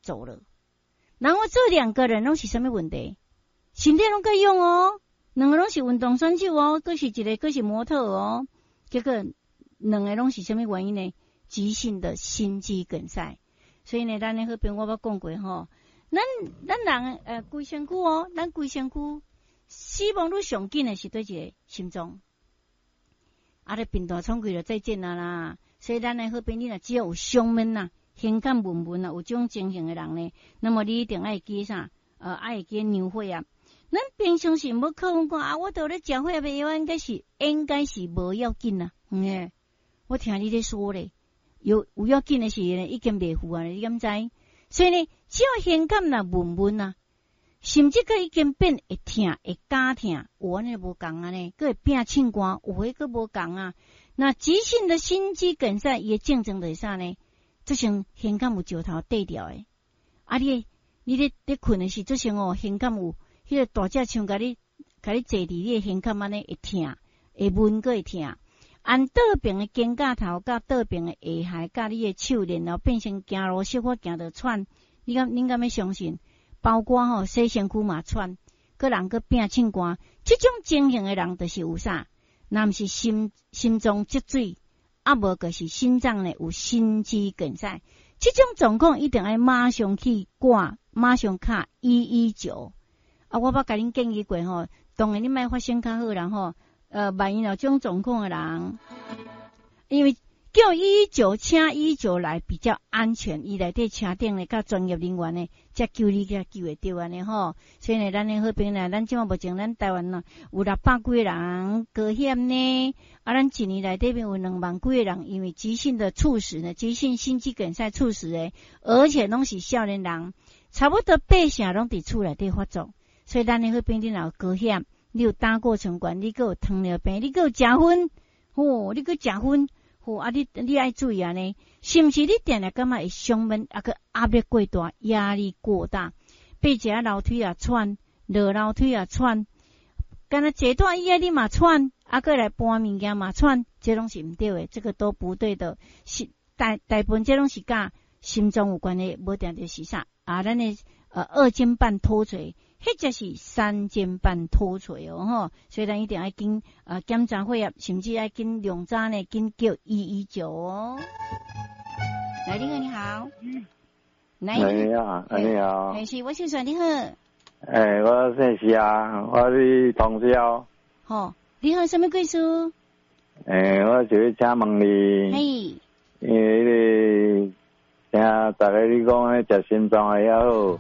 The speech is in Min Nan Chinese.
走了。然後這兩個人攏是啥物問題？身體攏閣勇哦，兩個攏是運動選手哦，閣是一個閣是模特哦。結果兩個攏是啥物原因呢？急性的心肌梗塞。所以呢，咱的好朋友我捌講過吼，咱人規身軀哦，咱規身軀死亡率上緊的是佗一個？心臟。啊，咧貧惰喘氣就再見啊啦！所以咱的好朋友，你若只要有胸悶呐、胸坎悶悶啊，有這種情形的人呢，那麼你一定愛記啥？愛記量血壓。咱平常時無可能講啊，我著咧食血壓的藥，應該是無要緊啊。嗯，我聽你咧說咧，有要緊的時呢，已經袂赴啊，你敢知？所以呢，只要胸坎若悶悶啊，甚至閣已經變會疼，會絞疼，有按呢無仝按呢，閣會變凊汗，有的閣無仝啊。那急性的心肌梗塞，伊的症狀就是啥呢？這像胸坎有石頭綴著的，啊你咧睏的時，這像哦，胸坎有彼個大隻像共你坐佇你的胸坎按呢會疼，會悶閣會疼。按倒爿的肩胛頭佮倒爿的下頦佮你的手，然後變成行路小可行著喘，恁敢欲相信？包括吼洗身軀嘛喘，閣人閣變凊汗，這種情形的人就是有啥？若毋是心臟積水，啊無就是心臟呢有心肌梗塞。這種狀況一定愛馬上去掛，馬上敲119。啊，我捌共恁建議過吼，當然你莫發生較好啦吼。萬一有這種狀況的人，因為叫一一九，請一一九來比較安全，伊內底車頂呢，佮專業人員呢，才救你，才救會著按呢吼。所以呢，咱的好朋友，咱這馬目前咱台灣呢有600幾個人高險呢，啊，咱一年內底邊有2萬幾個人，因為急性的猝死呢，急性心肌梗塞猝死的，而且攏是少年人，差不多八成攏佇厝內底發作。所以咱的好朋友，你若有高險，你有膽固醇懸，你閣有糖尿病，你閣有食薰，吼，你閣食薰。好啊，你愛注意按呢，是毋是你定定感覺會胸悶，啊閣壓力過大，壓力過大，爬一下樓梯也喘，落樓梯也喘，敢若坐大椅仔你嘛喘，啊閣來搬物件嘛喘，這攏是毋對的，這個都不對的。是大部分這攏是佮心臟有關係，無定就是啥啊？咱的二尖瓣脫垂，或者是三尖瓣脫垂哦吼，所以咱一定愛緊檢查血壓，甚至愛緊量早呢，緊叫119哦。來，你好，你好。來，你好，你好。是，我姓孫，你好。欸，我姓謝啊，我是同銷。吼，你好，啥物貴事？欸，我想欲請問你。嘿。因為彼個聽逐家你講彼食心臟的也好。